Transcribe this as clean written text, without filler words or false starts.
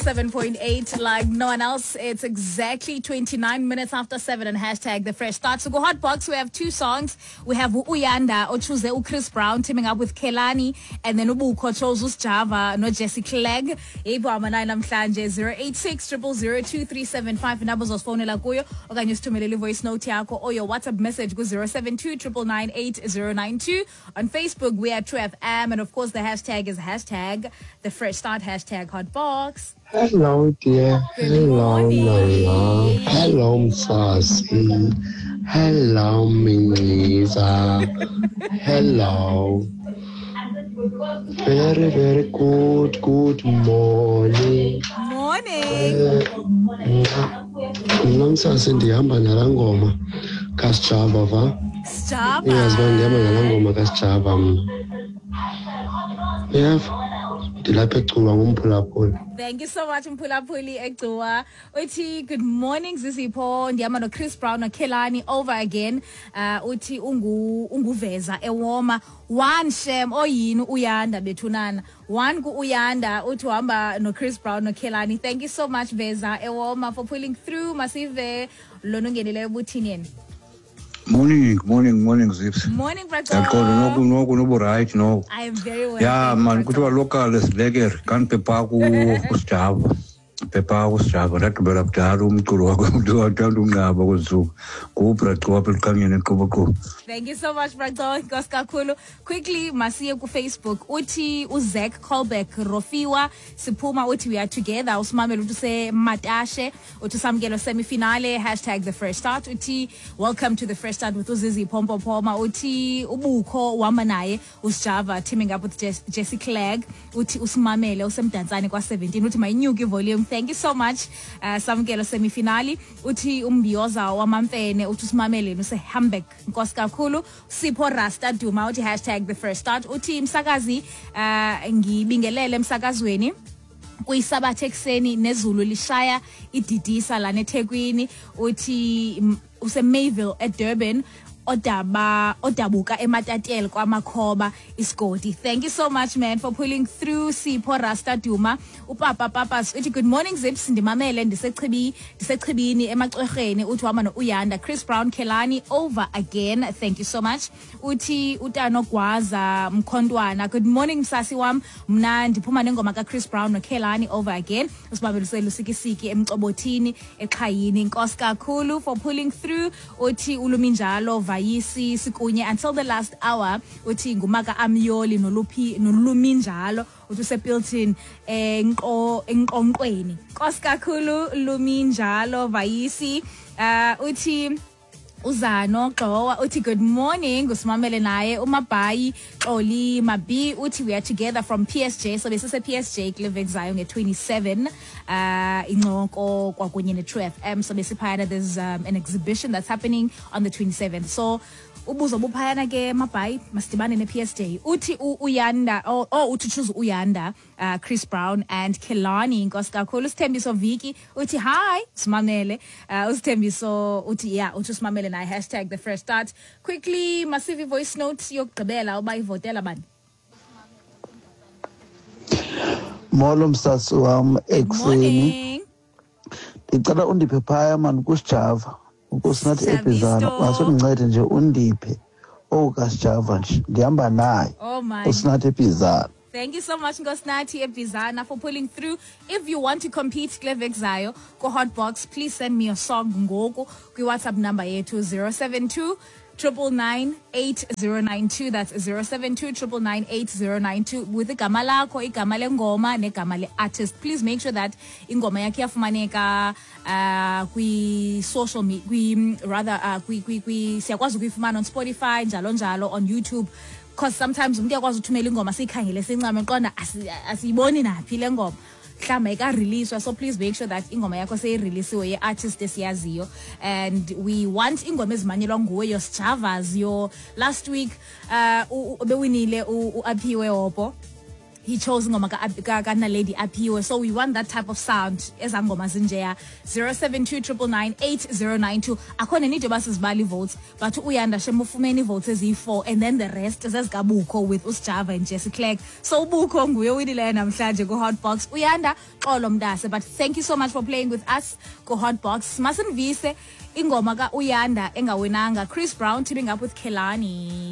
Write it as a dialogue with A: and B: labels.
A: 7.8 like no one else. It's exactly 29 minutes after 7 and hashtag the fresh start. So go hot box, we have two songs. We have Uyanda ochoose Chris Brown teaming up with Kelani and then Ubukho chose Usjava no Jesse Clegg. Yebo amanayi namhlanje 086 0002375 inamba uzosifonela kuyo okanye usithumelele voice note yakho or your WhatsApp message ku 072 999 On Facebook we are True FM and of course the hashtag is hashtag the fresh start hashtag hot box.
B: Hello dear.
A: Good
B: Hello
A: morning.
B: mama. Hello msasi. Hello Mingiza. Hello. Very very good good morning.
A: Morning.
B: Mna mna msasi ndihamba nalaa ngoma kaSjava va.
A: Sjava.
B: Iyazi uba ndihamba nalaa ngoma kaSjava mna. Uyeva? Ndilapha eCuba ngumphulaphuli.
A: Thank you so much Mphulaphuli eGcuwa. Uthi good morning Zizipho ndihamba no Chris Brown noKelani over again. Uthi ungu unguveza ewoma one shem oyini uyanda bethunana. One ku uyanda uthi uhamba no Chris Brown noKelani. Thank you so much Veza ewoma for pulling through masive lona ungenileyo buthini yena.
C: Morning, morning, morning Zips.
A: Morning
C: Ndiyaqonda
A: Braco.
C: noko noko nobu-right noko.
A: I am very well.
C: Ya
A: Thank you
C: man kuthiwa
A: Braco.
C: local silekere kanti phepha kusijava. Phepha kusijava ndagqibela kudala umculo wakho uthanda unqaba kwezi ntsuku. NguBraco apha ekuqhanyeni eqoboqobo.
A: Thank you so much, Braco. Nkosi kakhulu. Quickly, masiye ku Facebook. Uthi uZach Colbeck Rofiwa siphuma uthi we are together. Usimamele uthi usematashe uthi samkelo semifinale hashtag the fresh start. Uthi welcome to the fresh start with uZizi Pompo Poma. Uthi ubukho uhamba naye uSjava teaming up with Jesse Clegg. Uthi usimamele usemdantsane kwa 17. Uthi mayinyuke volume. Thank you so much. Samkelo semifinali. Uthi umbioza wamamfene uthi usimamele usehamburg. Nkosi kakhulu. Sipho Rasta Duma uthi hashtag the fresh start. Uthi msakazi ngibingelele emsakazweni kuyisabatha ekuseni nezulu lishaya ididisa lana eThekwini. Uthi useMayville eDurban odaba odabuka eMatatel kwamakhoba isigodi. Thank you so much man for pulling through Sipho Rasta Duma. Upapa Papas uthi good morning Zips ndimamele ndisechibi ndisechibini emacwerheni. Uthi uhamba no-Uyanda Chris Brown Kelani over again. Thank you so much. Uthi utano Gwaza Mkhontwana good morning msasi wam mna ndiphuma nengoma kaChris Brown noKelani over again. Usibambelisele usikisiki emcobothini exhayini. Nkosi kakhulu for pulling through. Uthi uluminjalo Vayisi sikunye until the last hour. Uthi ngumaka Amyoli noluphi noluminjalo uthi usepilton enqonqweni. Nkosi kakhulu luminjalo Vayisi. Uthi Uzano Xowa uthi good morning usimamele naye uMabhayi Xoli Mabi uthi we are together from PSG. So besise PSG kule veki zayo nge-27 incoko kwakunye ne-True FM. So besiphayana there's an exhibition that's happening on the 27th. So ubuzo buphayana ke Mabhayi masidibane ne-PSG. Uthi Uyanda uthi choose Uyanda Chris Brown and Kelani. Nkosi kakhulu. Sithembiso Viki uthi hi simamele. Usithembiso uthi yeah uthi usimamele naye hashtag the fresh start. Quickly masive voice note yokugqibela uba ivotela bani.
D: Molo msasi wam ekuseni.
A: Morning.
D: Ndicela undiphe phaya mani kuSjava. Nkosinathi Ebhizana.
A: Sabisto.
D: Wasundincede nje undiphe owukasjava nje ndihamba naye.
A: Oh my.
D: Nkosinathi Ebhizana.
A: Thank you so much Nkosinathi Ebhizana for pulling through. If you want to compete kule veki zayo ku Hotbox, please send me your song ngoku kwi WhatsApp number yethu 072 999 8092. That's 072 999 8092 with igama lakho, igama lengoma negama le-artist. Please make sure that ingoma yakho iyafumaneka kwi social media, kwi rather kwi kwi kwi siyakwazi ukuyifumana on Spotify njalo njalo on YouTube. Because sometimes umuntu uyakwazi uthumela ingoma siyikhangele sincame qonda asiyiboni naphi le ngoma. Mhlawumbe ayika-releaswa, so please make sure that ingoma yakho seyireleasiwe ye-artist esiyaziyo. And we want ingoma ezimanyelwa nguwe, your Sjavas, your last week bewinile uAphiwe Hopo. He chose ingoma kaNaledi Aphiwe, so we want that type of sound, ezaa ngoma zinjeya. 072 999 8092. Akho nenid yoba sizibala ii-votes, but uYanda shem ufumene ii-votes eziyi-4 and then the rest zezikabukho with uSjava and Jesse Clegg. So uBukho nguye owinileyo namhlanje ku-Hotbox. Uyanda, xolo mntase, but thank you so much for playing with us ku-Hotbox. Masinivise ingoma ka-Uyanda engawinanga, Chris Brown teaming up with Kelani.